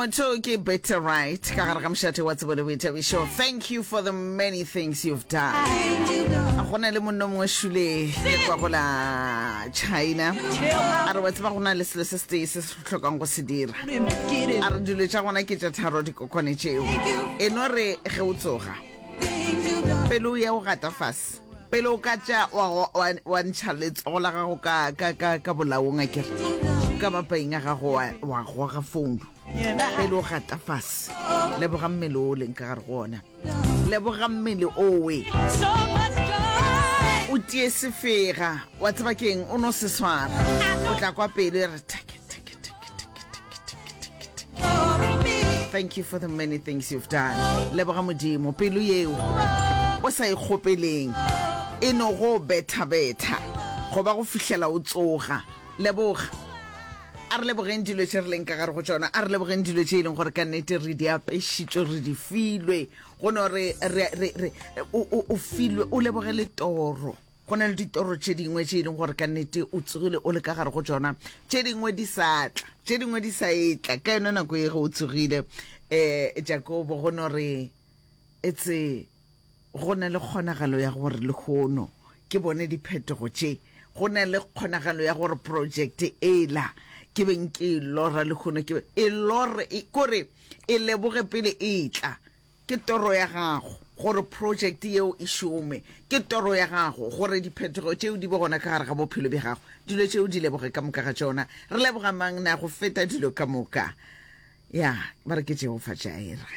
Motho ke better right ka gare ga mošate wa tsebo le boithabišo. Thank you for the many things you've done. Go na le monno mongwe šule ke kwa go la China. A re wa tseba go na le selo se setee se se hlokang go se dira. A re dilo tša gona ke tša tharo dikokwane tšeo. E no re ge o tsoga pele o ya o gata fase pele o ka tša wa, wa, wa ntšha letsogo la gago ka, ka, ka, ka bolaong a kere ka mapaing a gago wa, wa goga founu pele o gata fase leboga mmele o leng ka gare go ona leboga mmele owe o tie sefega wa tseba keng o no se swara o tla kwa pelo e re take take take take take take take take thank you for the many things you've done leboga modimo pelo yeo o sa e kgopeleng e no go betha-betha goba go fihlela o tsoga leboga a re lebogeng dilo tše re leng ka gare go tšona a re lebogeng dilo tše e leng gore ka nnete re di apešitšwe re di filwe go no re re o filwe o leboge le toro Go na le ditoro tše dingwe tše e leng gore ka nnete o tsogile o le ka gare go tšona, tše dingwe di sa tla, tše dingwe di sa etla ka yona nako ye ge o tsogile. Um Jakobo go no re etse go na le kgonagalo ya gore lehono ke bone diphetogo tše, go na le kgonagalo ya gore projekte ela ke beng ke e lora lehono ke e lore, kore e leboge pele e tla. Ke toro ya gago gore project yeo e šome. Ke toro ya gago gore diphetogo tšeo di be gona ka gare ga bophelo bja gago. Dilo tšeo di leboge ka moka ga tšona. Re leboga mang na go feta dilo ka moka? Ya, ba re ke Jehofa Jireh.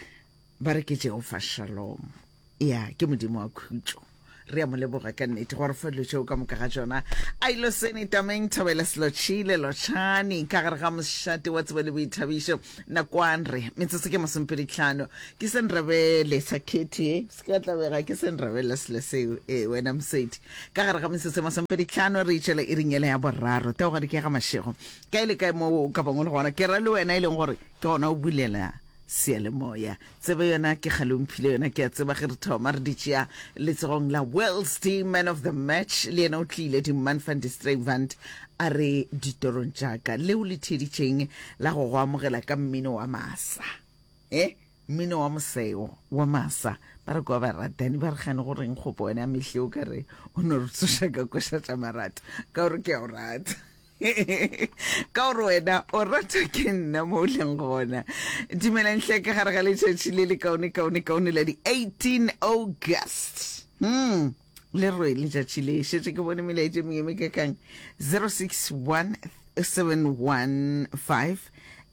Ba re ke Jehofa Shalom. Ya, ke Modimo wa khutšo. Re a mo leboga ka nnete go re fa dilo tšeo ka moka ga tšona. A ilo sene tameng thobela selotšhile lotšhani ka gare ga mošate wa tsebo le boithabišo nakwan re metsotso ke masomepeditlhano ke se nrebele sa khethe se ka tlabega ke se nrebele selo seo e wena mosedi ka gare ga metsotso e masomepeditlhano re itšwela e ringele ya boraro theogadi ke ga mašego kae le kae mo o ka bangwe le gona ke ra le wena e leng gore ke gona o bulela Seyalemoya. Tsebe yona ke kgale o mphile yona, ke a tseba ge re thoma re di tšea letsogong la World's Team Man of the Match, le yena o tlile di Man van die Streivand a re ditorong tša ka leo le theeditšeng la go go amogela ka mmino wa masa e mmino wa moseo wa masa ba re kwa baratani ba re gane go reng kgopo wena mehle o ka re o no re tsoša ka koša tša marato ka gore ke a o rata ka gore wena o ratwa ke nna mo o leng gona dumelang hle ka gare ga letšatši le le kaone kaone kaone la di 18 august hmm le rwe letšatši le šetše ke bone melaetše mengwe me kakang 061 715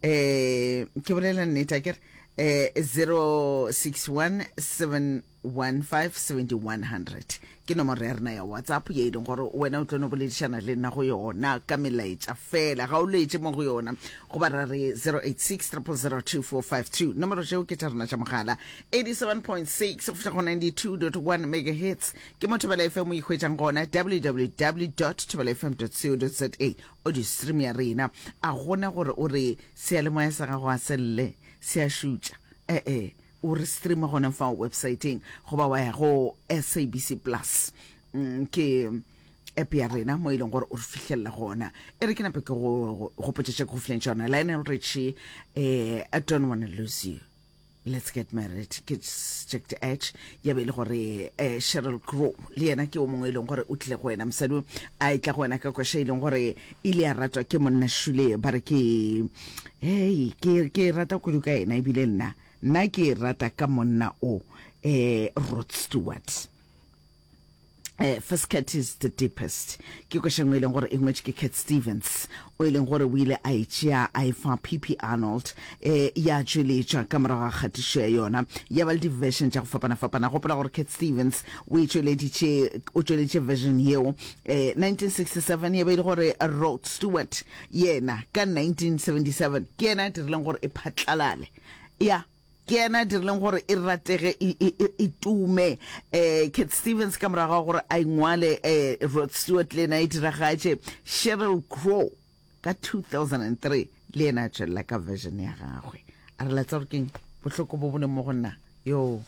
eh ke bolela nnete a kere eh 061 7 157100 ke nomoro ya rena ya whatsapp ye e leng gore wena o tlo no boledišana le nna go yona ka melaetša fela ga o letše mo go yona goba ra re 086 0002452 nomoro tšeo ke tša rena tša mogala 87.6 go fihla go 92.1 megahertz ke mo thobela fm o ikhwetšang gona www thobela fm co za audio stream ya rena a gona gore o re seyalemoya sa gago a selle se a šutša ee O re streama gona fao websaeteng goba wa ya go SABC Plus. Mm, ke app ya rena mo e leng gore o re fihlelela gona. E re ke nape ke go gopotše tše ke go fileng tšona. Lionel Richie, eh, I don't wanna lose you. Let's get married ke Jack the Edge ya be e le gore eh, Sheryl Crow le yena ke o mongwe e leng gore o tlile go wena mosadi o a e tla go wena ka koša e leng gore ile ya ratwa ke monna Shule ba re ke hei ke ke rata kudu ka yena ebile nna Nna ke e rata ka monna o, eh, Rod Stewart. Eh, First Cut is the Deepest. Ke koša nngwe e leng gore e ngwetše ke Cat Stevens, o e leng gore o ile a e tšea a e fa PP Arnold, eh, ya tšweletšwa ka morago ga kgatišo ya yona. Ya ba le di-version tša go fapana-fapana. Gopola gore Cat Stevens o e tšweleditše, o tšweleditše version yeo, eh, 1967, ya be e le gore Rod Stewart yena ka 1977 ke yena a dirileng gore e phatlalale. Ya, ke yena a dirileng gore e ratege, e, e, e, e tume. Eh, Cat Stevens ka morago ga gore a ingwale, eh, Rod Stewart le yena e diragatše. Sheryl Crow ka 2003 le yena a tšwelela ka version ya gagwe. A re la tseba gore keng bohloko bo bo leng mo go nna? Yo,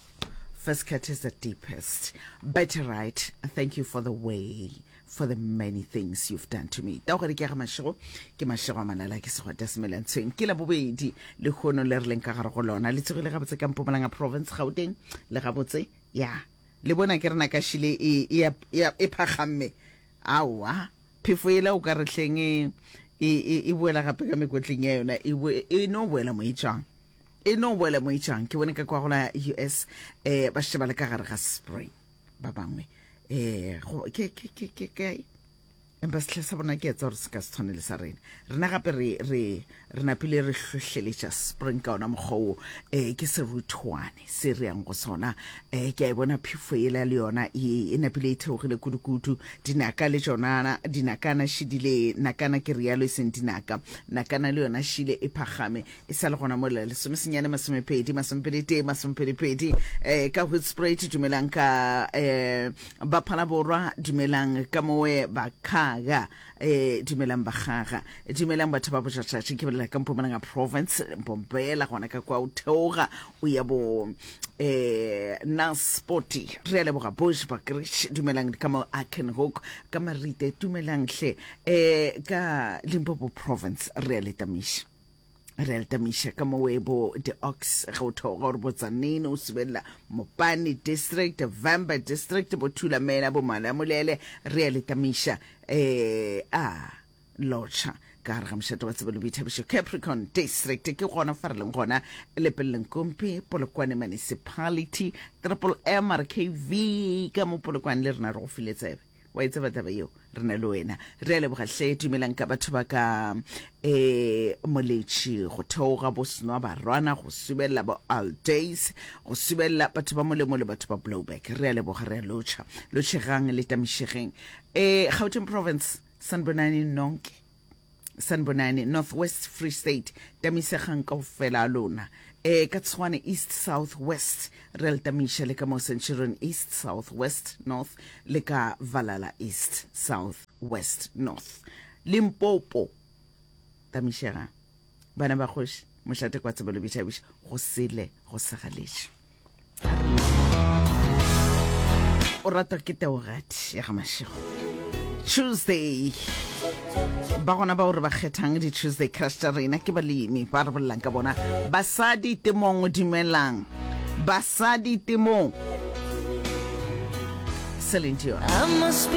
first cut is the deepest. Better right, thank you for the way. for the many things you've done to me. Taogadi ke ya ga Mashego, ke Mashego a Malala, ke Segwata Semelantshweng. Ke la bobedi lehono le re leng ka gare go lona. Le tsogile gabotse ka Mpumalanga Province, Gauteng, le gabotse? Ya. Le bona ke rena ka šile e, e, e, e phagamme. Aowa, phefo yela o ka re hleng e, e, e, e boela gape ka mekotleng ya yona, e, e no boela mo e tšwang. E no boela mo e tšwang. Ke bone ka kwa go la US, eh, ba šetše ba le ka gare ga spring. Ba bangwe eh go ke ke ke ke ke empa setlha sa bona ke etsa gore se ka se tshwane le sa rena. Rena gape re re re napile re hlohleletša spring ka ona mokgwa wo, eh ke seruthwane se re yang go sona. Eh ke a e bona phefo yela le yona e, e napile e theogile kudu-kudu. Dinaka le tšona, dinakana šidile, nakana ke rialo e seng dinaka, nakana le yona šile e phagame. E sa le gona mola lesomesenyane masomepedi masomepeditee masomepedipedi eh, ka Hoedspruit dumelang ka eh, ba Phalaborwa dumelang ka mowe ba Khaga eh, dumelang ba Kgaga dumelang batho ba Bojatšatši ke bolela ka Mpumalanga province Mpompela gona ka kwa o theoga o ya bo eh, Naspoti re a leboga Bushbuckridge dumelang ka mo Akenhoek ka Marite dumelang hle eh, ka Limpopo province re a le tamiša. Re a le tamiša ka mo webo the ox ge o theoga gore botsanene o subelela Mopani district, Vhembe district, bo Thulamela, bo Malamulele re a le tamiša eh a lotšha ka gare ga mošate wa tsebo le boithabišo Capricorn district ke gona fa re leng gona Lepelleng Kompi Polokwane municipality Triple M R K V ka mo Polokwane le rena re go file tsebe. Wa e tseba taba yeo? Re na le wena. Re a leboga hle. Dumelang ka batho ba ka eh Moletši, go theoga bo Senwa Barwana, go subelela bo Aldays, go subelela batho ba Molemo le batho ba Blouberg. Re a leboga, re a lotšha. Lotšhegang le tamišegeng. Eh Gauteng Province, sanibonani nonke. Sanibonani, North West, Free State, tamisegang kaofela a lona. E, ka Tshwane East, South, West, re a le tamiša le ka mo Centurion East, South, West, North, le ka Valhalla East, South, West, North. Limpopo, tamišegang. Bana ba kgoši, mošate kwa tsebo le boithabišo, go sele go segaletše. O ratwa ke Teogadi ya ga Mashego. Tuesday. Ba gona bao re ba kgethang di-Tuesday crush tša rena ke balemi ba re bolelang ka bona. Basadi temong dumelang. Basadi temong. Celine Dion.